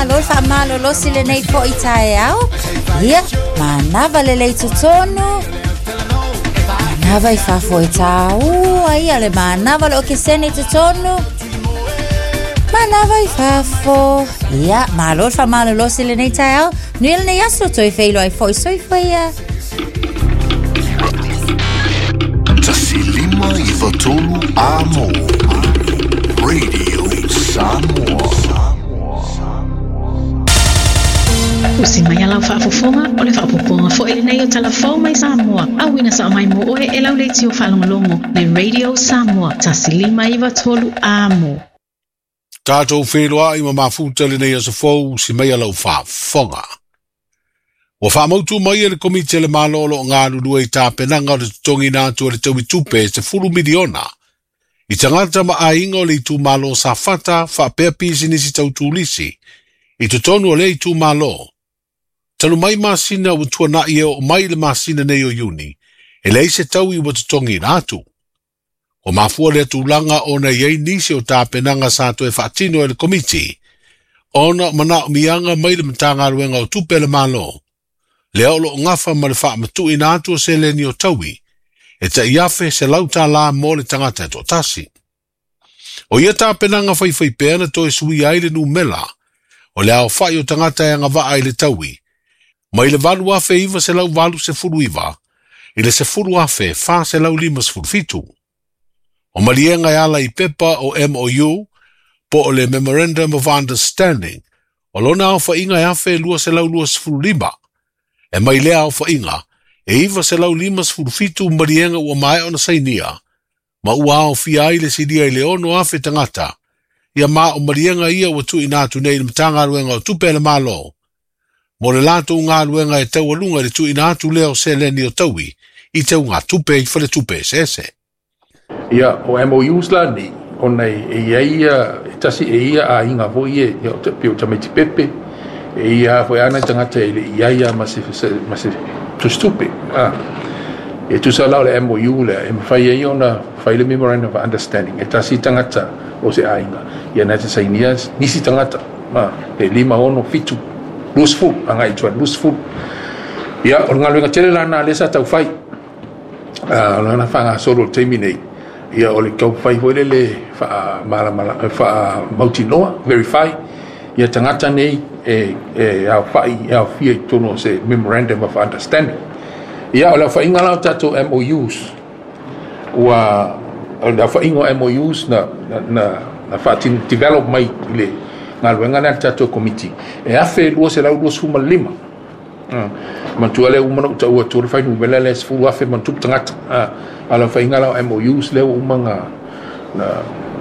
Malo le faamalolosi lenei fo'i taeao. Ia, manava lelei totonu. Manava i fafo e tāua ia le manava le okesene i totonu. Manava i fafo. Ia, malo le faamalolosi lenei taeao. Nui lenei aso toe feiloai fo'i soifua ia. 1 5 9 3 Amo Radio Samoa. Usi mai a lau faafofoga o le faaopoopoga foi lenei o Tala Fou mai Samoa, auina sao mai mo oe e lau leitio faalogologo le Radio Samoa 1593 Amo. Tatou feiloai ma mafuta lenei aso fou si mai a lau faafofoga. Ua faamautu mai e le Komiti a le Malo o lo o galulue i tapenaga o le totogiina atu o le taui tupe e 10 miliona i tagata ma aiga o le itumalo o Safata faapea pisinisi tau turisi i totonu o lea itumalo. Talu mai masina ua tuana'i e oo mai i le masina nei o Iuni, e leai se taui ua totogiina atu. Ua mafua lea tulaga ona i ai nisi o tapenaga sa toe faatino e le Komiti, ona o manaomiaga mai le Matagaluega o Tupe a le Malo, lea o loo gafa ma le faamatuuina atu o seleni o taui, e tai $1,100 mo le tagata e toatasi. O ia tapenaga faifaipea na toe suia ai le numera o le aofa'i o tagata e agavaa i le taui, mai le 8,989 i le 10,457. O maliega e ala i pepa o MOU, po o le Memorandum of Understanding, o lona aofa'iga e 1,225, e mai lea aofa'iga e 957 maliega ua maea ona sainia, ma ua aofia ai le silia i le 6,000 tagata, ia ma o maliega ia ua tuuina atu nei i le Matagaluega o Tupe a le Malo, mo le latou galuega e taualuga i le tuuina atu lea o seleni o taui i teugatupe i faletupe eseese. Ia, o MOUs la nei, ona e i ai ia, e tasi e ia aiga foi e, ia, o te pei o tamaiti pepe, e ia foi ana tagata e le i ai ia ma se tusitupe. E tusa la o le MOU lea, e mafai ai ona fai le Memorandum of Understanding, e tasi tagata o se aiga, ia na te sainia nisi tagata, e 5, 6, 7, 20, agai i tua 20. Ia, o le galuega tele la na lea sa taufai, o lana faagasolo o le taimi nei, ia o le taufai foi lele faamautinoa, verify, ia tagata nei e aofa'i e aofia i totonu o se Memorandum of Understanding. Ia, o le aofaiga la o tatou MOUs, ua o le aofaiga o MOUs na faatino develop mai i le galuega lea a le tatou Komiti, e 1,225. Matua lea uma na ou taua atu le fuainumera lea 10,000 ma tupu tagata. A o le aofaiga la o MOUs lea ua uma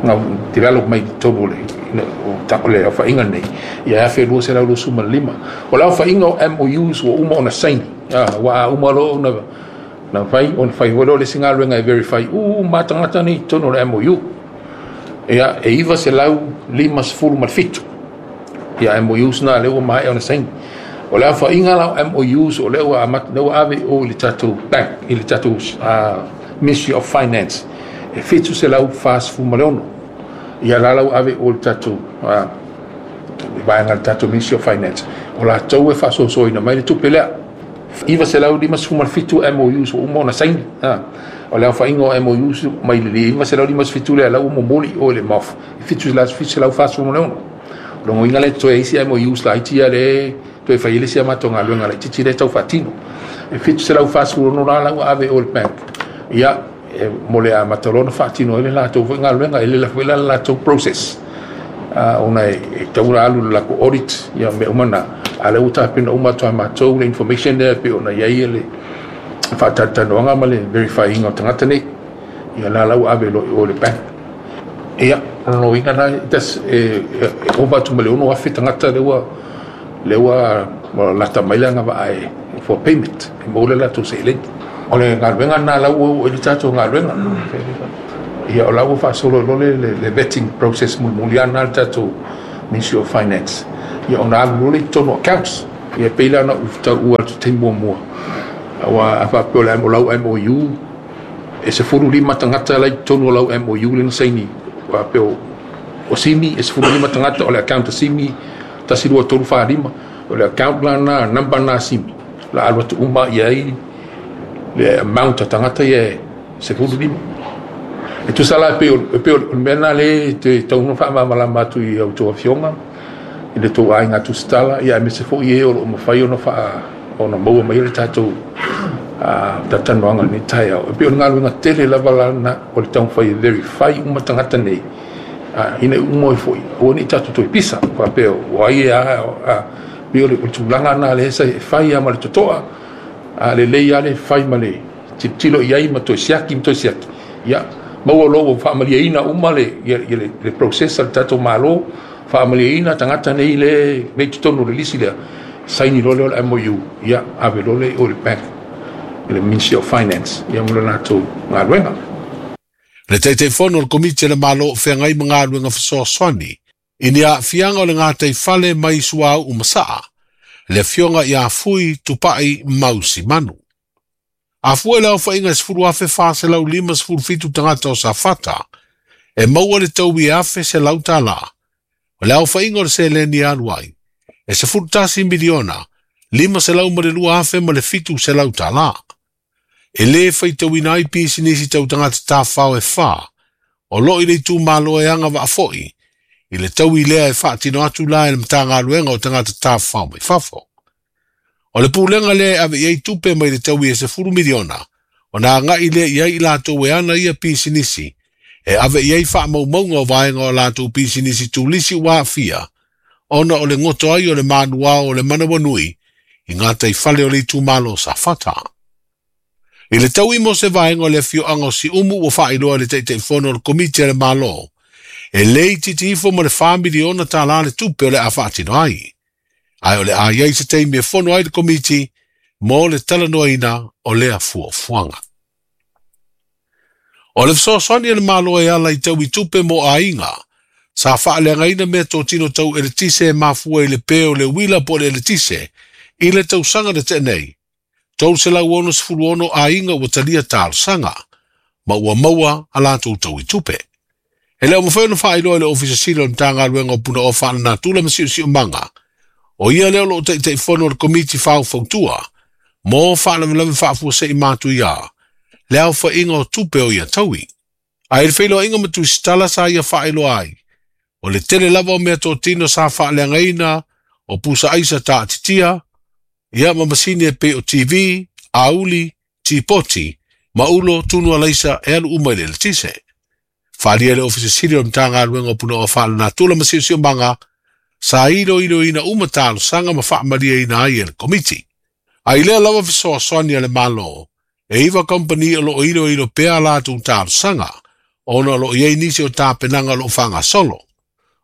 na develop mai i totonu o le aofaiga lenei, ia e 1,225. O le aofaiga o MOUs ua uma ona saini, ua uma loa ona na fai, ona fai foi lea o le isi galuega e verify uma tagata nei i totonu o le MOU. Ia, e 957 ia MOUs na lea ua maea ona saini. O le aofaiga la o MOUs o lea ua amata, lea ua ave i o i le tatou bank, i le tatou Ministry of Finance, e 746. Ia la la ua ave i o i le tatou vaega le tatou Ministry of Finance, o latou e faasoasoaina mai le tupe lea. 957 MOUs ua uma ona saini. O le aofaiga o MOUs mai le 957 lea la ua momoli i o i le MOF, e 746. O lona uiga lea toe isi MOUs laiti ia le toe fai ai le isi a matou galuega laitiiti lea tau faatino. E 746 la la ua ave i o i le bank. Ia, e mo le amata loa ona faatino ai le latou foi galuega, e lele foi la le latou process. Ona e tatau ona alu i le latou audit, ia mea uma na, a o lea ua tapena uma atu e matou le information lea e pei ona i ai le faatalatalanoaga ma le verify ina o tagata nei. Ia la la ua ave loa i o i le bank. Ia, o lona uiga la, e ova atu ma le 6,000 tagata lea ua lata mai le agavaa e for payment, e maua le latou seleni. O le galuega lena la ua oo i le tatou galuega. Ia, o la ua faasolo loa le vetting process mulimuli lava lena le tatou Ministry of Finance. Ia, ona alu loa lea i totonu o accounts. Ia, pei la ona ou taua atu taimi muamua, aua a faapea o le lau MOU, e 15 tagata la i totonu o lau MOU lea na saini, faapea o Simi, e 15 tagata o le account a Simi. 1 2 3 4 5 o le account lana number na simi la alu atu uma i ai le amount a tagata ia e 15. E tusa la e pei o le mea lena lea e tatau ona faamalamalama atu i a outou afioga i le tou aiga tusitala, ia aemaise foi e o lo o mafai ona faa ona maua mai le tatou talatalanoaga i lenei taeao. E pei o le galuega tele lava la lena o le taumafai e verify uma tagata nei, ina ia uma ai foi, aua ne i tatou toe pisa faapea o ai e a, pei o le tulaga lena lea e fai lava ma le totoa, a lelei lava le fai ma le tilotilo i ai ma toe siaki ma toe siaki, ia maua loa ua faamalieina uma le process a le tatou Malo, faamalieina tagata nei le nei totonu o le lisi lea, saini loa lea o le MOU, ia ave loa lea i o i le bank, i le Ministry of Finance, ia mo le latou galuega. Le Taitaifono o le Komiti a le Malo o Feagai ma Galuega Fesoasoani i ni aafiaga o le gataifale mai Suauu ma Saa, le Afioga ia Fui Tupai Mausi Manu. A fua i le aofaiga e 10,457 tagata o Safata, e maua le taui e $1,100. O le aofaiga o le seleni e alu ai, e $11 miliona, $502,000 ma le $700. E lē faitauina ai pisinisi tau tagata tafao e fa, o loo i le itumalo e agavaa foi i le taui lea e faatino atu la e le Matagaluega o Tagata Tafafao mai Fafo. O le pulega lea e ave i ai tupe mai le taui e $10 miliona, ona agai lea i ai i latou e ana ia pisinisi, e ave i ai faamaumauga o vaega o latou pisinisi tulisi ua aafia, ona o le goto ai o le manuao o le manawanui i gataifale o le itumalo o Safata. I le taui mo se vaega o le afioaga o Siumu ua faailoa e le Taitaifono o le Komiti a le Malo, e le itiiti ifo ma le $4 miliona le tupe o le a faatino ai. Ae o le a i ai se taimi e fono ai le Komiti mo le talanoaina o lea fuafuaga. O le fesoasoani a le Malo e ala i taui tupe mo aiga, sa faaleagaina mea totino tau eletise e mafua i le pe o le uila po o le eletise i le tausaga na tea nei, 366 aiga ua talia talosaga, ma ua maua a latou taui tupe. E le o mafai ona faailoa e le Ofisa Sili o le Matagaluega o Punaoa Faalenatura ma Siosiomaga, o ia lea o lo o taitaifono o le Komiti Faufautua mo Faalavelave Faafuasei Matuia, le aofaiga o tupe o ia taui. Ae i le feiloaiga ma Tusitala sa ia faailoa ai, o le tele lava o mea totino sa faaleagaina o pusa aisa taatitia, ia ma masini e pei o TV, auli, tipoti, ma ulo tunu alaisa e alu uma i le eletise. Faaalia e le Ofisa Sili o le Matagaluega o Punaoa Faalenatura ma Siosiomaga, sa iloiloina uma talosaga ma faamalieina ai e le Komiti. A i lea lava fesoasoani a le Malo, e 9 kamupani o loo iloilo pea a latou talosaga, ona o loo i ai nisi o tapenaga o loo faagasolo.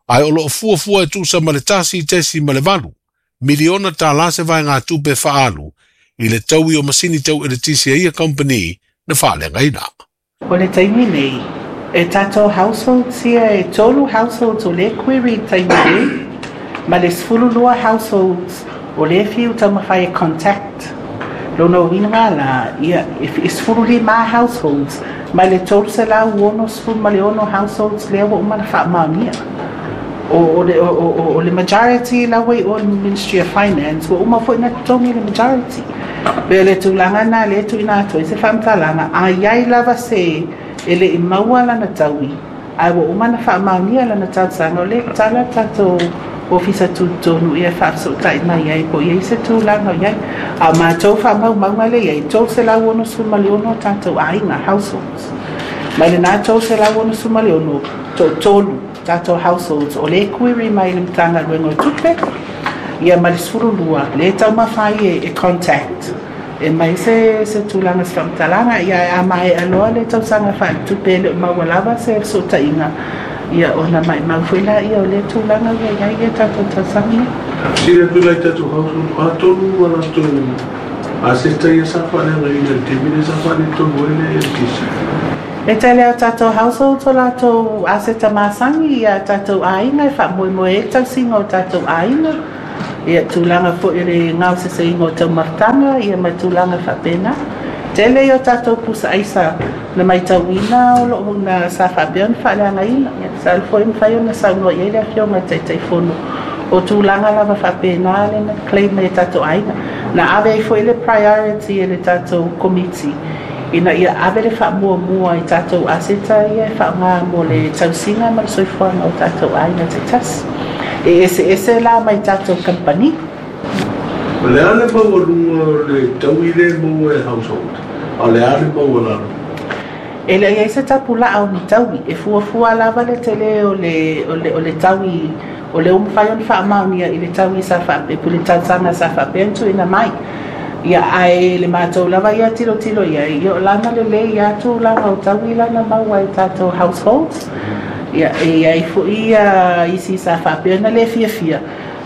Ae o loo fuafua e tusa ma le $1.8 miliona se vaegatupe faaalu i le taui o masini tau eletise a ia kamupani na faaleagaina. O le taimi nei, e tatou households ia e tolu households o lea query i le taimi nei, ma le 12 households o lea fiu taumafai e contact. Lona uiga la, ia, e 15 households mai le 366 households lea ua uma ona faamaonia. O le majority la ua i o le Ministry of Finance, ua uma foi ona totogi le majority. Pe o le tulaga lena lea e tuuina atu ai se faamatalaga, a i ai lava se e le i maua lana taui, ae ua uma ona faamaonia lana talosaga, o lea e tala le tatou ofisa tutotonu ia e faafesootai mai ai po o i ai se tulaga o i ai. A o matou faamaumauga lea e i ai, 366 tatou aiga, households. Mai lena 366, toatolu tatou households o lea e query mai i le Matagaluega o Tupe, ia ma le 12 lea e taumafai e contact e mai se tulaga se faamatalaga. Ia a maea loa le tausaga faaletupe e le o maua lava se fesootaiga, ia ona maimau foi la ia o lea tulaga ua i ai ia tatou tausaga nei. Fesili atu la i tatou household, o a tonu a latou aseta ia sa faaleagaina i le taimi lea sa faaletonu ai le LTC? E tele a tatou households o latou aseta masani ia tatou aiga e faamoemoe ai le tausiga o tatou aiga, ia tulaga foi o le gaoseseina o taumafataga ia ma tulaga faapena. Tele ia o tatou pusa aisa na maitauina o loo na sa faapea ona faaleagaina. Ia sa alu foi mafai ona saunoa i ai le afioga i le Taitaifono O tulaga lava faapena lea na claim ai e tatou aiga. Na ave ai foi le priority e le tatou Komiti ina ia ave le faamuamua i tatou aseta ia e faaaoga mo le tausiga ma le soifuaga o tatou aiga taitasi. E eseese la mai tatou kamupani. O le a le maualuga o le taui lea e maua e household, a o le a le maualalo? E le i ai se tapulaa o ni taui, e fuafua lava le tele o le, o le, o le taui o lea ua mafai ona faamaonia i le taui sa faapea, i le tausaga sa faapea ona tuuina mai. Ia, ae le matou lava ia tilotilo i ai, ia o lana lelei lava tulaga o taui la na maua e tatou households. Ia, e i ai foi ia isi sa faapea ona le fiafia,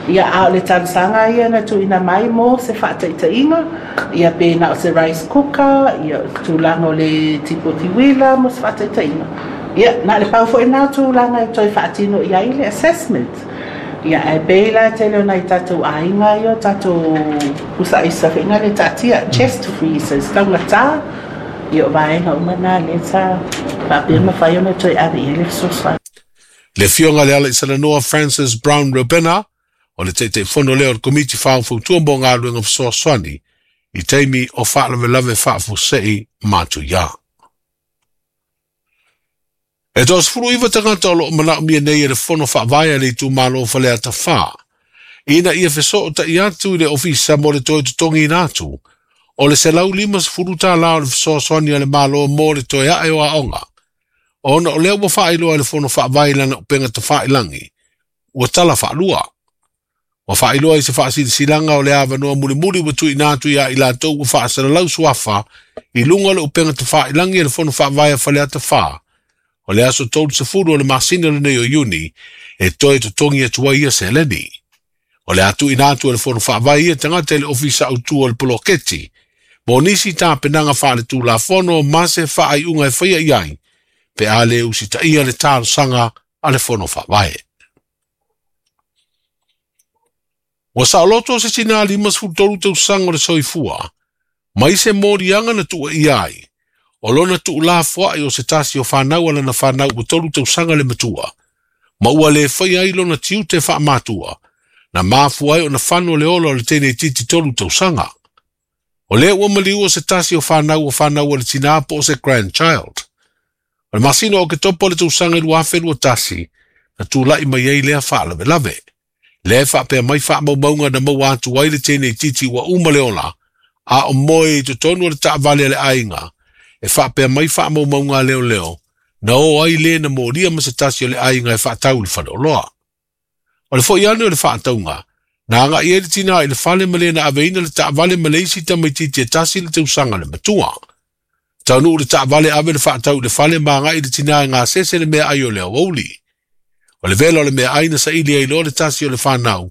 Ia, a o le talosaga ia na tuuina mai mo se faataitaiga, ia pe na o se rice cooker, ia o se tulaga o le tipoti uila mo se faataitaiga. Ia, na o le pau foi lena o tulaga e toe faatino i ai le assessment. Ia, ae pei la e tele o nai tatou aiga ia o tatou pusa aisa foi na le taatia, chest freezers, taugata, ia o vaega uma na lea sa faapea mafai ona toe ave i ai le fesoasoani. Le Afioga i le Alaisalanoa Francis Brown Robena, o le Taitaifono lea o le Komiti Faufautua mo Galuega Fesoasoani i taimi o faalavelave faafuasei matuia. E 39 tagata o lo o manaomia nei e le Fono Faavae a le itumalo o Faleata 4 ina ia fesootai atu i le Ofisa mo le toe totogiina atu o le $150 o le fesoasoani a le Malo mo le toe ae o aoga ona o lea ua faailoa e le Fono Faavae i lana upega tafailagi, ua tala faalua. Ua faailoa i se faasilasilaga o le avanoa mulimuli ua tuuina atu ia i latou ua faasalalau suafa i luga o le upega tafailagi a le Fono Faavae a Faleata 4, o le aso 30 o le masina lenei o Iuni e toe totogi atu ai ia seleni. O le a tuuina atu e le Fono Faavae ia tagata i le Ofisa Autu o le Poloketi mo nisi tapenaga faaletulafono ma se faaiuga e faia i ai pe a le usitaia le talosaga a le Fono Faavae. Ua saoloto se tinā 53 tausaga o le soifua mai se moliaga na tuuaia ai o lona tuulafoai o se tasi o fanau a lana fanau ua 3 tausaga le matua, ma ua le faia ai lona tiute faamatua, na mafua ai ona fano le ola o le teineitiiti 3 tausaga. O lea ua maliua se tasi o fanau o fanau a le tinā po o se grandchild. O le masina o Oketopa o le tausaga 2021 na tulai mai ai lea faalavelave. Lea e faapea mai faamaumauga na maua atu ai le teineitiiti ua uma le ola, a o moe i totonu o le taavale a le aiga, e faapea mai faamaumauga a leoleo, na o ai le na molia ma se tasi o le aiga e faatau i le faleoloa. O le foi ane o le faatauga, na agai ai le tinā i le fale ma le na aveina le taavale ma le isi tamaitiiti e tasi le tausaga le matua. Taunuu le taavale ave le faatau i le fale ma agai le tinā e gasese le meaai o le aoauli. O le vela o le meaai na saili ai loa le tasi o le fanau,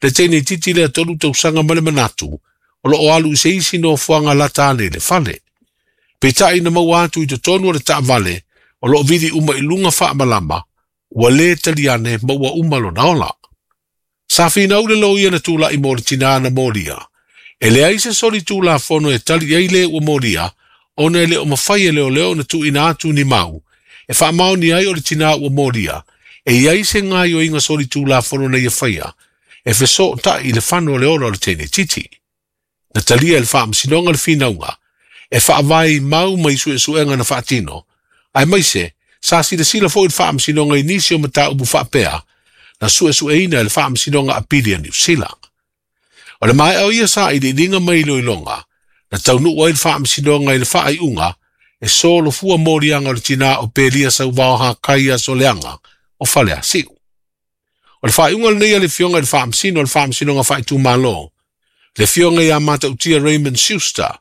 le teineitiiti lea 3 tausaga ma le manatu, o lo o alu i se isi nofoaga lata ane i le fale. Peitai na maua atu i totonu o le taavale, o lo o vili uma i luga faamalama, ua le tali ane ma ua uma lona ola. Sa finau le loia na tulai mo le tinā na molia. E leai se soli tulafono e tali ai le ua molia, ona e le o mafai e leoleo na tuuina atu ni mau, e faamaonia ai o le tinā ua molia, e i ai se gaoioiga soli tulafono na ia faia, e fesootai i le fano o le ola o le teineitiiti. Na talia e le faamasinoga le finauga, e faavae i mau mai suesuega na faatino, aemaise sa silasila foi le faamasinoga i nisi o mataupu faapea, na suesueina e le faamasinoga apili a Niu Sila. O le maea o ia sailiiliga mai iloiloga, na taunuu ai le faamasinoga i le faaiuga e solofua moliaga o le tinā o Pelia Sauvao Hakai Asoleaga o Faleasiu. O le faaiuga lenei a le Afioga i le Faamasino o le Faamasinoga Faaitumalo, le Afioga ia Matautia Raymond Schuster,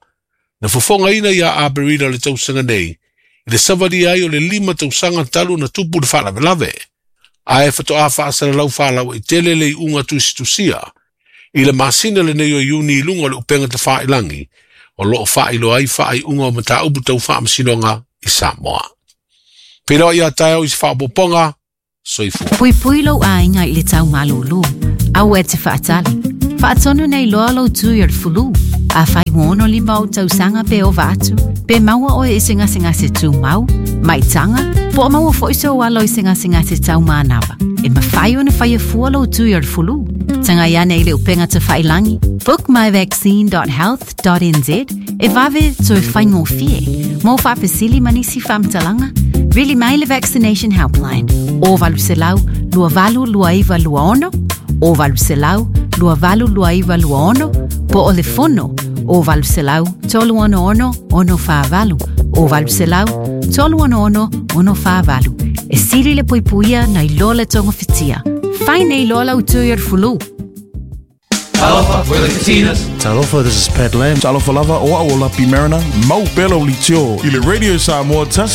na fofogaina ia Aperila o le tausaga nei i le savalia ai o le 5 tausaga talu na tupu le faalavelave, ae faatoa faasalalau faalauaitele le iuga tusitusia i le masina lenei o Iuni i luga o le upega tafailagi o lo o faailoa ai faaiuga o mataupu tau faamasinoga i Samoa. Peiloa ia taeao i se faaopoopoga, soifua. Puipui lou aiga i le tau malūlū. Aua e te faatali. Faatonu nei loa lou tui o le fulu. Afai ua 65 ou tausaga pe ova atu, pe maua oe i se gasegase tumau, maitaga, po o maua foi sou alo i se gasegase tau manava, e mafai ona faia fua lou tui o le fulu. Tagai ane i le upega tafailagi bookmyvaccine.health.nz e vave toe faigofie. Mo faafesili ma nisi faamatalaga, vili mai le Vaccination Helpline o 800 2829 26 o 800 2829 26 po o le fono o 800 366 648 o 800 366 648. E sili le puipuia nai lo le togofitia. Fai nei loa lau tui o le fulu. Talofa, we're the Katinas. Talofa, this is Pat Lam. Talofa lava o au o Lapi Mariner, mau pela o litio. I le Radio Samoa tasi.